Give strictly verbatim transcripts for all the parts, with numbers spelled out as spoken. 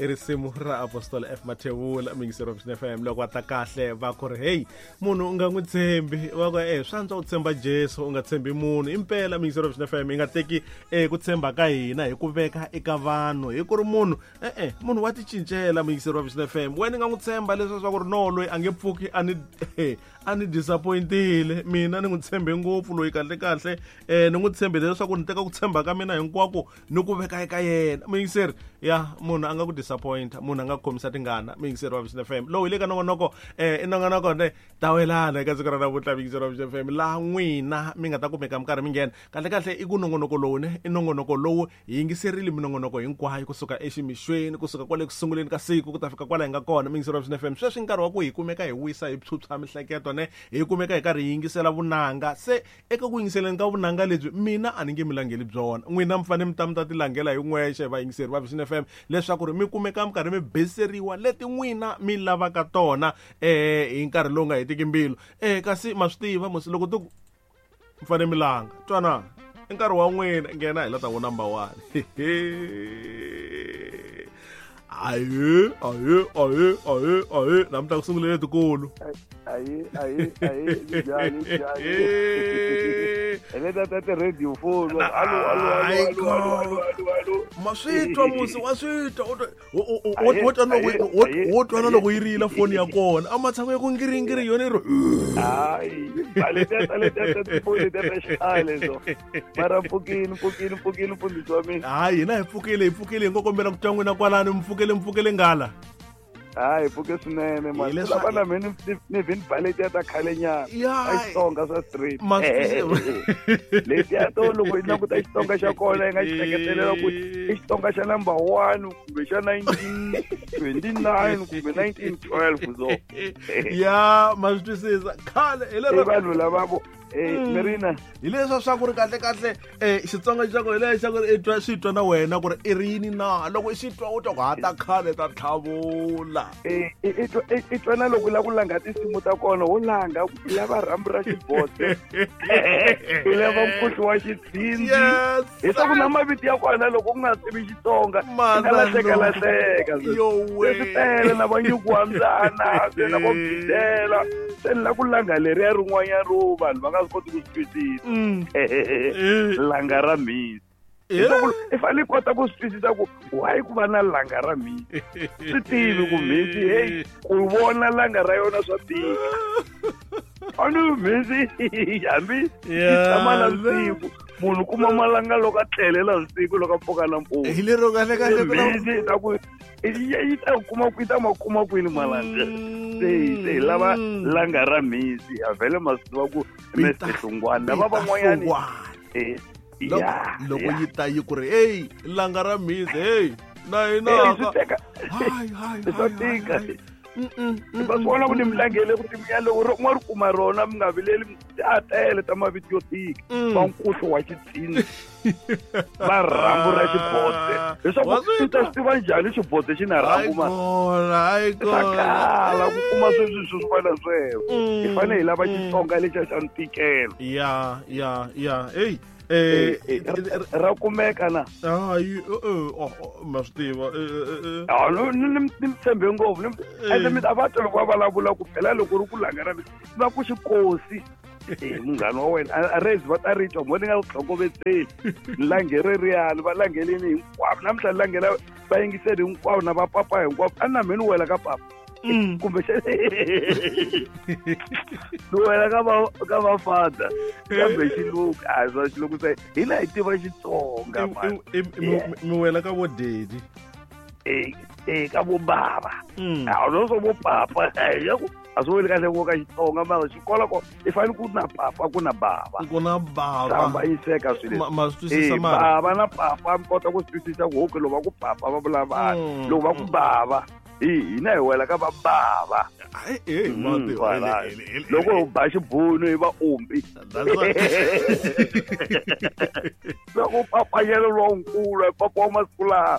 I risimu ra Apostle F Mathebula muyingiseri wa Vision F M loko va ta kahle va ku ri hey munhu u nga n'wi tshembi va ku eh swa antswa u tshemba Jesu u nga tshembi munhu impela muyingiseri wa Vision F M hi nga teki eh ku tshemba ka hina hi ku veka eka vanhu hi ku ri munhu eh eh munhu wa ti cincela muyingiseri wa Vision F M wena i nga n'wi tshemba leswi swa ku ri no loyi a nge pfuki a ni a ni disappointile mina ni n'wi tshembe ngopfu loyi kahle kahle eh ni n'wi tshembile leswaku ni teka ku tshemba ka mina hinkwako ni ku veka eka yena muyingiseri ya munhu a nga ku disappoint munhu a nga khomisa tingana muyingiseri wa Vision F M lowu hi le ka nongonoko eh i nongonoko ne tawelana eka siku ra namuntlha muyingiseri wa Vision F M laha n'wina mi nga ta kumeka mi karhi mi nghena kahle kahle i ku nongonoko lowu ne i nongonoko lowu hi yingiserile minongonoko hinkwayo kusuka eximixweni kusuka kwale ku sunguleni ka siku ku ta fika kwala hi nga kona muyingiseri wa Vision F M sweswi nkarhi wa ku hi kumeka hi wisa hi phyuphya mihleketo ne hi kumeka hi karhi hi yingisela vunanga se eka ku yingiseleni ka vunanga lebyi mina a ni nge mi langeli byona n'wina mi fanele mi ta mi ta ti langela hi n'wexe vayingiseri va Vision F M leswaku ri mi kumeka mi karhi mi beseriwa leti n'wina mi lavaka tona eh hi nkarhi lowu nga hetiki mbilu eh kasi ma swi tiva musi loko ti mi fanele mi langa twana i nkarhi wa n'wina nghena hi la ta vo number one aye aye aye aye aye namuntlha ku sungule letikulu aye aye aye njhani njhani hi leta ta ti-radio phone alo alo alo alo alo alo alo ma swi twa musi wa swi twa wo twa wo twa na loko yi rila foni ya kona a matshan'we ya ku ngiringiri yona yi ri hayi letiya letiya ta tifoni letiya ta xikhale so mara pfukini pfukini pfukini mfundhisi wa mina hayi hina hi pfukile hi pfukile hi ngo kombela ku twa n'wina kwalano mi pfukele mi pfukele ngala hayi pfuke swinene mani lava na mina ni vini ba letiya ta khale nyana a Xitsonga swa straight letiya to loko yi languta Xitsonga xa kona yi nga xi hleketelela ku i Xitsonga xa number one kumbe xa nineteen twenty nine kumbe nineteen twelve so ya ma swi twisisa khale hi lero vanhu lava vo eh Marina hi leswa swa ku ri kahle kahle eh Xitsonga xa ku hi lexa ku ri i twa swi twa na wena ku ri i ri yini na loko i xi twa u twa ku hata khale ta tlhavula eh i twa i twa na loko la ku langa tinsimu ta kona wo langa u lava rhambu ra xibose u lava mkuhlu wa xitshindzi hi swa ku na mavito ya kona loko u nga tivi Xitsonga i nga lahleka lahleka leswi tele na vanyuku wa mbyana se na vo gidela se ni la ku langa leriya rin'wanyana ro vanhu va nga swi koti ku swi twisisa langa ra mhisi i fanele i kota ku swi twisisa ku why ku va na langa ra mhisi swi tivi ku mhisi heyi ku vona langa ra yona swa tika a ni mhisi hambi yi tshama na siku munhu kuma malanga loko a tlelela siku loko a pfuka nampundzu hi lero kahle kahle mhisi ta ku yi ta kuma yi ta ma kuma kwini malanga se se hi lava langa ra mhisi a vhele ma swi tiva ku Mister Hlungwana lava van'wanyani eh loko yi ta yi ku ri hey langa ra mhisi hey na hina hayi hayi swa tika va swi vona ku ni mi langele ku timiya loko ro n'wa ri kuma rona mi nga vileli a tele ta mavito yo tika va nkuhlu wa xitsindzi va rhambu ra xibodze leswaku u ta swi tiva njhani xibodze xi na rhambu ma swa kala ku kuma sweswi swo swi fana sweswo hi fanele hi lava Xitsonga lexiya xa ntikelo ya ya ya hey eh ra kumeka na hayi eh ma swi tiva eh ah no ni ni tshembe ngopfu ende mi ta va twa loko va vulavula ku phela loko ri ku langa ra va ku xikosi eh munghana wa wena a rezi va ta ri twa mo ni nga ku tlhokovetseli ni langere riyani va langeleni hinkwavo namuntlha ni langela va yingiseli hinkwavo na va papa hinkwavo a na mina ni wela ka papa kumbe ni wela ka va ka va father kambe xilungu a swa xilungu se hina hi tiva Xitsonga mi wela ka vo daddy eh eh ka vo bava a no swo vo papa ya ku a swi weli kahle ku ka Xitsonga mara xikola ko i fanele ku na papa ku na bava ku na bava hambanyiseka swilo ma swi twisisa mara bava na papa mi kota ku swi twisisa ku okay loko va ku papa va vula vanhu loko va ku bava hina hi wela ka va bava loko hi ba xibunu hi va ombi loko papanyelo lonkulu hi papa wa masiku lawa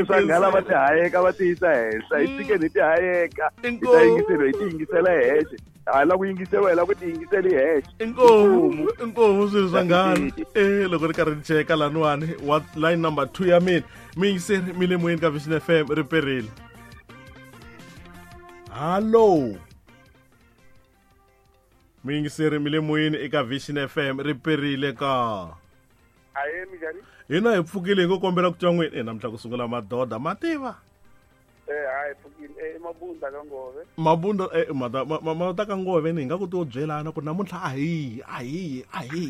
swanghala va ti hayeka va ti yisa henhla hi tshikeni hi ti hayeka hi ta yingisela hi ti yingisela hexe A la ku yingisela la ku ti yingisela hexe. Inkomu, inkomu swilo swa ngana. Eh loko ri karhi ni cheka laniwani wa line number two ya mina. Mi yingiseri mi le moyeni ka Vision F M ri perile. Hello. Mi yingiseri mi le moyeni eka Vision F M ri perile ka. Aye minjhani? Hina hi pfukile hi ngo kombela ku twa n'wini. Eh namuntlha ku sungula madoda mativa. Eh hayi pfukile eh Mabunda ka Ngove. Mabunda eh mata mata ka Ngove ni nga ku to byelana ku namuntlha a hi a hi a hi.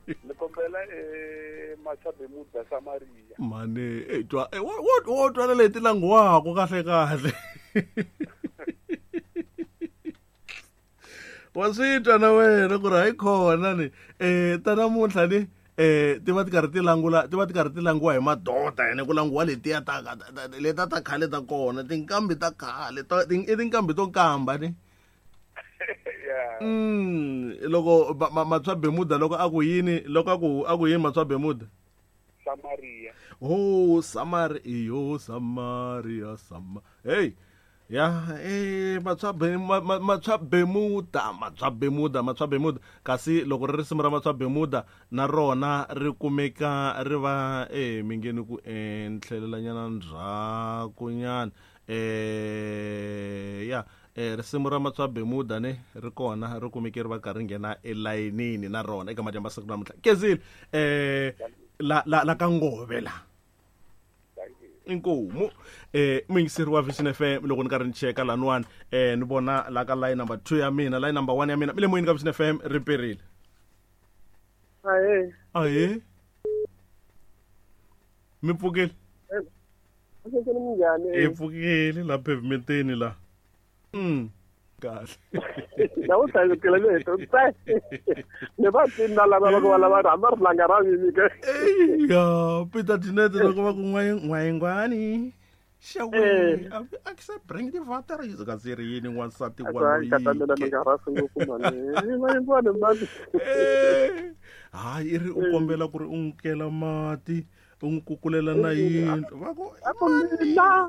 Ni kombela eh Matshabemuda Samaria. Mane eh twa eh wo wo twa leti languwako kahle kahle. Wa swi twa na wena ku ri hayi khona ni eh ta namuntlha ni eh ti va ti karhi ti langula ti va ti karhi ti languwa hi madoda ene ku languwa letiya ta leta ta khale ta kona tinkambi ta khale ta i tinkambi to kamba ni. Mm loko Matswa Bemuda loko a ku yini loko a ku a ku yini Matswa Bemuda? Samaria. Oh Samaria yo Samaria Sama. Hey ya eh Matswa Matswa Bemuda Matswa Bemuda Matswa Bemuda kasi loko ri risimu ra Matswa Bemuda na rona ri kumeka ri va eh mi ngeni ku endlelelanyana ndzhaku nyana eh ya eh risimu ra Matswa Bemuda ne ri kona ri kumeke ri va karhi nghena elayinini na rona eka madyambu siku namuntlha kezile eh la la la ka Ngove la. Inkomu eh muyingiseri wa Vision F M loko ni karhi ni cheka laniwani eh ni vona la ka line number two ya mina line number one ya mina mi le moyeni ka Vision F M ri perile. Ahe. Ahe. Mi pfukile? Minjhani? Hi pfukile la pavementeni la. Mm. Kahle. Na u hlayekela le to tsa. Ne va tinna lava loko va lava rhamba ri langa ra mini ke. Ya, Peter Tinete loko va ku n'wayingwani. Xawe, a ke se bring the water is ka se ri yini n'wansati wa loyi. Ka ta mina nga ra ngopfu mani. N'wayingwani mani. Eh. Hayi ri u kombela ku ri u nkela mati. U n'wi kukulela na yindlu. Va ku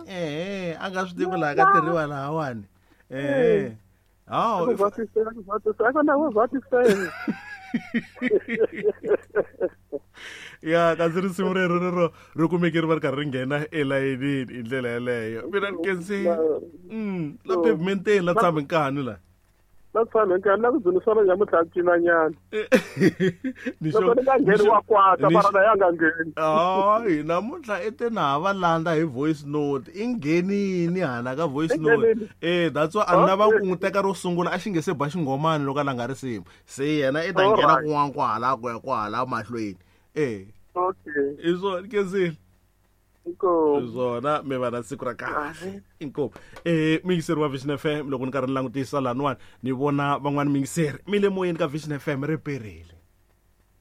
eh a nga swi tivi laha ka tirhiwa lahawani. Eh. Ah, va tisela va tisela ka va tisela. Ya kasi risimu rero rero ri kumeke ri va ri karhi ri nghena elayinini hi ndlela yeleyo. Mina ni khensi mm la pavementeni la tshami nkani la. La tshami nkani la ku dzunisana nyamuntlha cinanyana. Ni xo ni nga ngheni wa kwata mara na ya nga ngheni. Hayi namuntlha i te na ha va landza hi voice note i nghenini hala ka voice note. Eh that's why a ni lava ku n'wi teka ro sungula a xi nge se ba xinghomani loko a langa risimu. Se yena i ta nghena kun'wana kwahala ku ya kwahala mahlweni. Eh. Okay. I swona Kenzile. Inkomu. Swona mi va na siku ra kahle. Inkomu. Eh muyingiseri wa Vision F M loko ni karhi ni langutisa laniwani ni vona van'wani muyingiseri mi le moyeni ka Vision F M ri perile.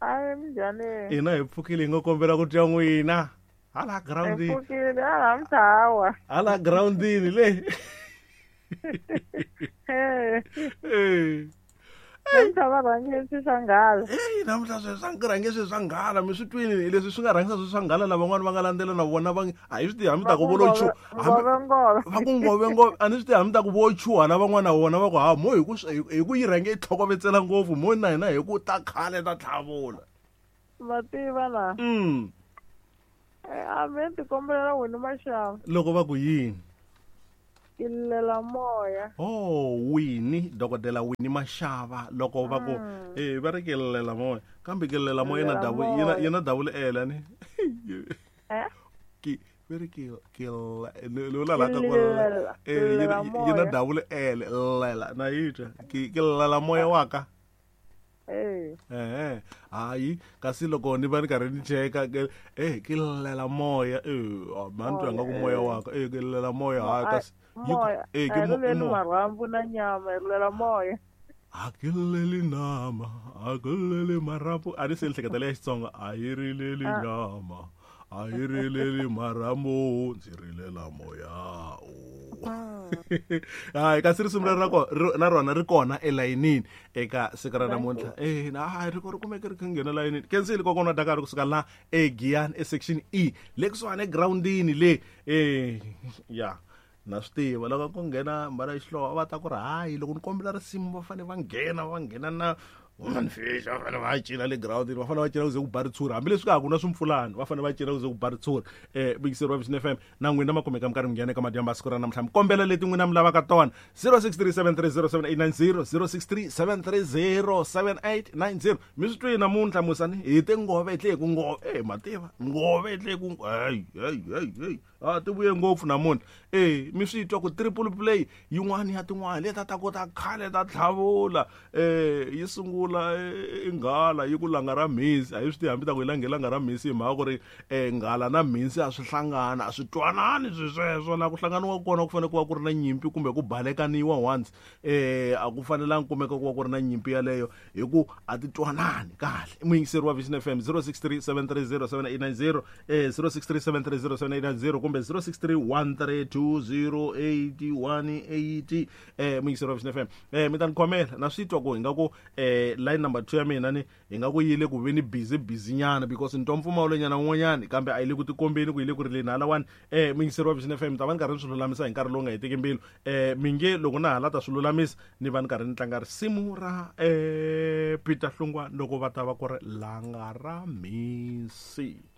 Aye minjhani? Hina hi pfukile hi ngo kombela ku twa n'wina. Hala groundini. Hi pfukile hala mthawa. Hala groundini le. Eh. Eh. Namuntlha va rhangile swi swa nghala. Eyi namuntlha swi swa rhange swi swa nghala mi swi twini leswi swi nga rhangisa swi swa nghala lavan'wana va nga landzela na vona va a hi swi tivi hambi ta ku vo lo chuha va ku ngove ngove a ni swi tivi hambi ta ku vo chuha lavan'wana vona va ku ha mo hi ku hi ku yi rhange yi tlhokovetsela ngopfu mo na hina hi ku ta khale ta tlhavula. Va tiva la. Mm. A me ti kombelela wena Maxava. Loko va ku yini? Lela moya. Oh, Winnie, dokodela Winnie Mashava loko va ku eh va ri kelela moya kambe kelela moya na double yena yena double L ni. Eh? Ki va ri ke ke lo la la ka kwala eh yena double L lela na yitwa ke ke lela moya wa ka. Eh. Eh, hayi kasi loko ni va ni karhi ni cheka eh ke lela moya eh mani twa nga ku moya wa ka eh ke lela moya hayi kasi moya eh ke mo marhambu na nyama lela moya. A ke leli nama a ke leli marhambu a ni se hleketa leya Xitsonga a yi rileli nyama a yi rileli marhambu ndzi rilela moya. Hayi kasi risimu leri ra kona na rona ri kona elayinini eka siku ra namuntlha. Eh na hayi ri ri kumeke ri kha nghena layinini. Kensile kokwana wa Dakar kusuka la eGiyani e section E le kusuhani egroundini le eh ya Na swi tiva loko ku nghena mbala xihlovo va ta ku ri hayi loko ni kombela risimu va fanele va nghena va nghena na woman fish va fanele va cina le groundini va fanele va cina ku ze ku ba ritshuri hambileswi ka ha ku na swimpfulani va fanele va cina ku ze ku ba ritshuri. um vuyiseri wa Vision F M na n'wina ma kumeka mi karhi mi nghena eka madyambu ya siku ra namuntlha mi kombela leti n'wina mi lavaka tona zero six three seven three zero seven eight nine zero zero six three seven three zero seven eight nine zero mi swi twi namuntlha musani hi te ngove tle ku ngove e mativa ngove tle ku hey hey hey hey a ti vuye ngopfu namuntlha e mi swi twa ku triple play yin'wana ya tin'wana leta ta ku ta khale ta tlhavula um yi sungula i nghala yi ku langa ra mhisi a yi swi tivi hambi ta ku yi lange langa ra mhisi hi mhaka ku ri um nghala na mhisi a swi hlangana a swi twanani swi sweswo laha ku hlanganiwa kona ku fanele ku va ku ri na nyimpi kumbe ku balekaniwa once um a ku fanelangi kumeka ku va ku ri na nyimpi yaleyo hi ku a ti twanani kahle. Muyingiseri wa Vision F M zero six three seven three zero seven eight nine zero eh zero six three seven three zero seven eight nine zero kumbe zero six three one three two zero eight one eight eh muyingiseri wa Vision F M eh mi ta ni khomela na swi twa ku hi nga ku eh line number two ya mina ni hi nga ku yile ku ve ni busy busy nyana because ni twa mpfumawulo nyana wun'wanyani kambe a yi le ku tikombeni ku yi le ku rileni halawani. Eh muyingiseri wa Vision F M ta va ni karhi ni swi lulamisa hi nkarhi lowu nga hetiki mbilu eh mi nge loko na hala ta swi lulamisa ni va ni karhi ni tlanga risimu ra eh Peter Hlungwa loko va ta va ku ri langa ra mhisi.